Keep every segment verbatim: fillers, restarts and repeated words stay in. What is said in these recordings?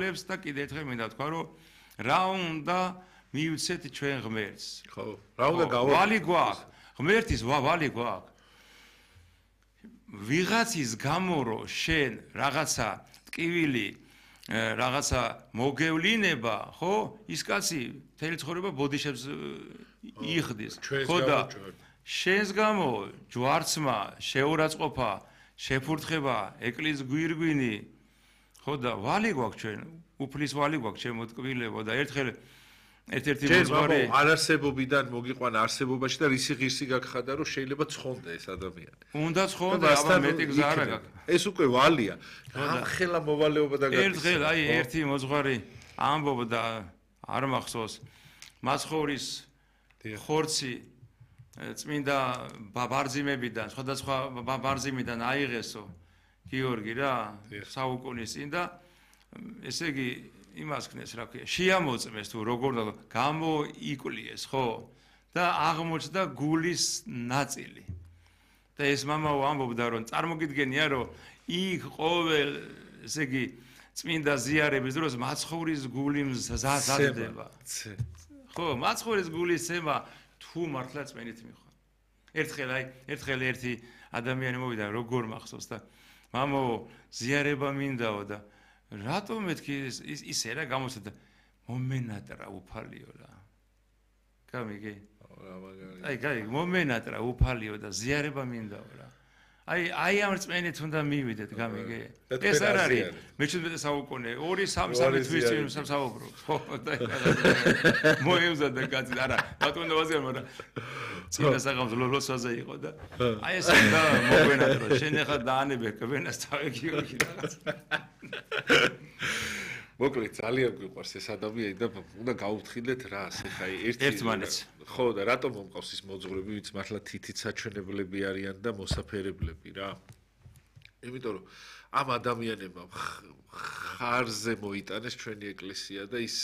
ლებს და კიდე ერთხელ მინდა თქვა რომ რა უნდა მივცეთ ჩვენ ღმერთს. ხო, რა უნდა გავაკეთოთ? ვალი გვაქვს. ღმერთის ვალი გვაქვს. ვიღაცის გამო რომ შენ რაღაცა ტკივილი რაღაცა მოგევლინება, ხო? ის კაცი მთელი ცხოვრება ბოდიშებს იხდის. ხო და შენს გამო ჯვარცმა, შეურაცხყოფა, შეფურთხება, ეკლიის გვირგვინი, ხო და ვალი გვაქვს ჩვენ, უფლის ვალი გვაქვს ჩემო ტკვილებო და ერთხელ ერთ-ერთი მოძღვარი არარსებობიდან მოგიყვანა არსებობაში და რისი ღირსი გაგხადა რომ შეიძლება ცხონდა ეს ადამიანი. უნდა ცხონდა, აბა მეტი გზა არა გაქვს. ეს უკვე ვალია. ამ ხელა მოვალეობა და გაკეთდა. ერთხელ აი ერთი მოძღვარი ამბობდა არ მახსოვს მაცხოვრის ხორცი წმინდა ბარძიმებიდან, სხვადასხვა ბარძიმიდან აიღესო გიორგი რა, საუკუნის წინ და ესე იგი იმას ქნეს რა ქვია, შეამოწმეს თუ როგორ და გამოიკვლიეს, ხო? და აღმოჩნდა გულის ნაწილი. და ეს მამაო ამბობდა რომ წარმოგიდგენია რომ იქ ყოველ ესე იგი წმინდა ზიარების დროს მაცხოვრის გული მზადდება. ხო, მაცხოვრის გულის ცემა თუ მართლა წმენით მიხარ. ერთხელ აი, ერთხელ ერთი ადამიანი მოვიდა როგორ მახსოვს და მამაო ზიარება მინდაო და რატომ მეთქი ისე რა გამოსადა მომენატრა უფალიო რა. გამიგე? აი, გაიგე, მომენატრა უფალიო და ზიარება მინდაო რა. აი, აი ამ რწმენით უნდა მივიდეთ, გამიგე? ეს არ არის მეჩვიდმეტე საუკუნე, ორი სამი სამი თვის წინ საუბრობ. ხო, და მოემზადა კაცი, არა, ბატონო ვაზიარ, მაგრამ წინა საღამოს ლოლოსაზე იყო და აი ეს და მოგვენატრო, შენ ახლა დაანებე კვენას თავეგიოგი რაღაც. მოკლედ ძალიან გვიყვარს ეს ადამიანი და უნდა გავუფრთხილდეთ რას, ეხა ერთი ერთმანეთს. ხო და რატომ მომყავს ის მოძღვრები, ვინც მართლა თითით საჩვენებლები არიან და მოსაფერებლები რა. იმიტომ რომ ამ ადამიანებმა ხარზე მოიტანეს ჩვენი ეკლესია და ის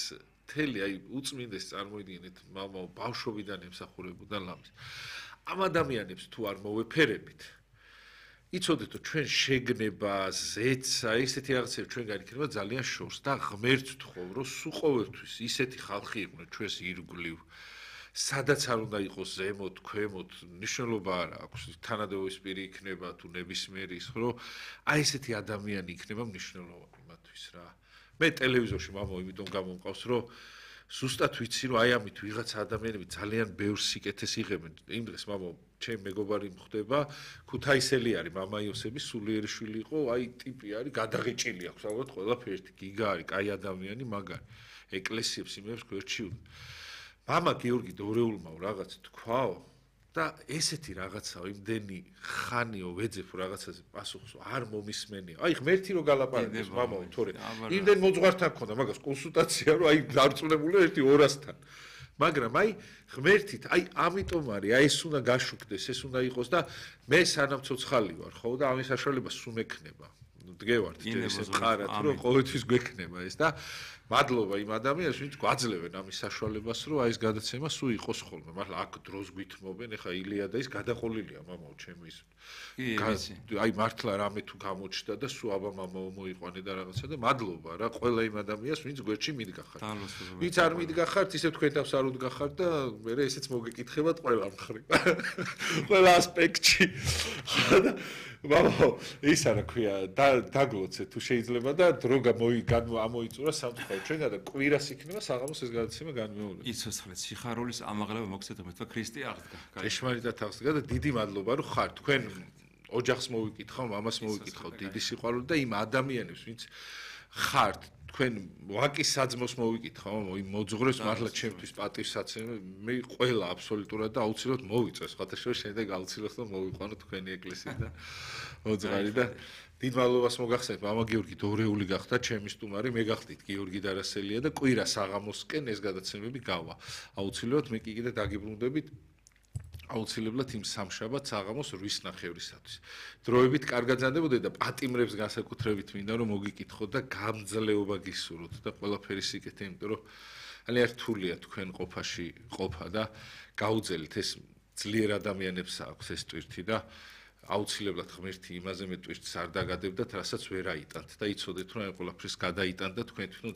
მთელი აი უწმინდეს წარმოიდგინეთ მამაო ბავშვობიდან ემსახურებოდა ლამის. ამ ადამიანებს თუ არ მოვეფერებით იცოდეთ რომ ჩვენ შეგნება, ზეცა, ესეთი რაღაცები ჩვენგან იქნება ძალიან შორს და ღმერთს ვთხოვ რომ სულ ყოველთვის ისეთი ხალხი იყვნენ ჩვენს ირგვლივ სადაც არ უნდა იყოს ზემოთ, ქვემოთ, ნიშნულობა არ აქვს, თანადროის პირი იქნება თუ ნებისმიერი ის, რომ აი ესეთი ადამიანი იქნება მნიშვნელოვანი მათთვის რა. მე ტელევიზორში მამაო იმიტომ გამომყავს, რომ ზუსტად ვიცი, რომ აი ამით ვიღაცა ადამიანები ძალიან ბევრ სიკეთეს იღებენ. იმ დღეს მამაო ჩემ მეგობარი მხდება, ქუთაისელი არის, მამა იოსების სულიერი შვილი იყო, აი ტიპი არის, გადაღეჭილი აქვს, ალბათ ყველაფერი, გიგა არის, კაი ადამიანი, მაგარი. ეკლესიებს იმებს გვერდჩიუდა. მამა გიორგი დორეულმაო რაღაც თქვაო და ესეთი რაღაცაო იმდენი ხანიო ვეძებ რაღაცაზე პასუხს არ მომისმენია. აი ღმერთი რო გალაპარაკოს მამაო, თორე იმდენ მოძღვართან ქონდა მაგას კონსულტაცია რომ აი დარწმუნებული ერთი ორასთან. მაგრამ აი ღმერთით, აი ამიტომ არის, აი ეს უნდა გაშუქდეს, ეს უნდა იყოს და მე სანამ ცოცხალი ვარ, ხო და ამის საშუალება სულ მექნება. დგევართ ეს მყარად რომ ყოველთვის გვექნება ეს და მადლობა იმ ადამიანებს ვინც გვაძლევენ ამის საშუალებას რომ აი ეს გადაცემა სულ იყოს ხოლმე მართლა აქ დროს გვითმობენ ეხა ილია და ის გადაყოლილია მამაო ჩემი ის აი მართლა რამე თუ გამოჩნდა და სულ აბა მამაო მოიყვანე და რაღაცა და მადლობა რა ყველა იმ ადამიანს ვინც გვერდში მიდგახართ ვინც არ მიდგახართ ისე თქვენ თავს არ უდგახართ და მე ესეც მოგეკითხებათ ყველა მხრივ ყველა ასპექტში მამაო ისა რა ქვია დაგლოცე თუ შეიძლება და დრო გამოიწურა სამწუხაროდ ჩვენგან და კვირას იქნება საღამოს ეს გადაცემა განმეორება. იცოცხლეთ სიხარულის ამაღლება მოგცეთ მე თქვა ქრისტე აღდგა. ეშმარიტად აღდგა და დიდი მადლობა რომ ხარ თქვენ ოჯახს მოვიკითხავ, მამას მოვიკითხავ დიდი სიყვარული და იმ ადამიანებს ვინც ხართ თქვენ ვაკის საძმოს მოვიკითხავ, იმ მოძღვრებს მართლა ჩემთვის პატივსაცემი მე ყველა აბსოლუტურად და აუცილებლად მოვიწეს, ხათაშორის შემდეგ აუცილებლად მოვიყვანო თქვენი ეკლესია და მოძღარი და დიდ მადლობას მოგახსენებთ, მამა გიორგი დორეული გახდა, ჩემი სტუმარი, მე გახდით გიორგი დარასელია და კვირა საღამოსკენ ეს გადაცემები გავა. აუცილებლად მე კი კიდე დაგიბრუნდებით აუცილებლად იმ სამშაბათ საღამოს რვის ნახევრისათვის. დროებით კარგად ზანდებოდეთ და პატიმრებს განსაკუთრებით მინდა რომ მოგიკითხოთ და გამძლეობა გისურვოთ და ყველაფერი სიკეთე, იმიტომ რომ ძალიან რთულია თქვენ ყოფაში ყოფა და გაუძელით ეს ძლიერ ადამიანებს აქვს ეს ტვირთი და აუცილებლად ღმერთი იმაზე მეტ ტვირთს არ დაგადებდათ, რასაც ვერ აიტანთ და იცოდეთ, რომ აი ყველაფრის გადაიტანდა თქვენ თვითონ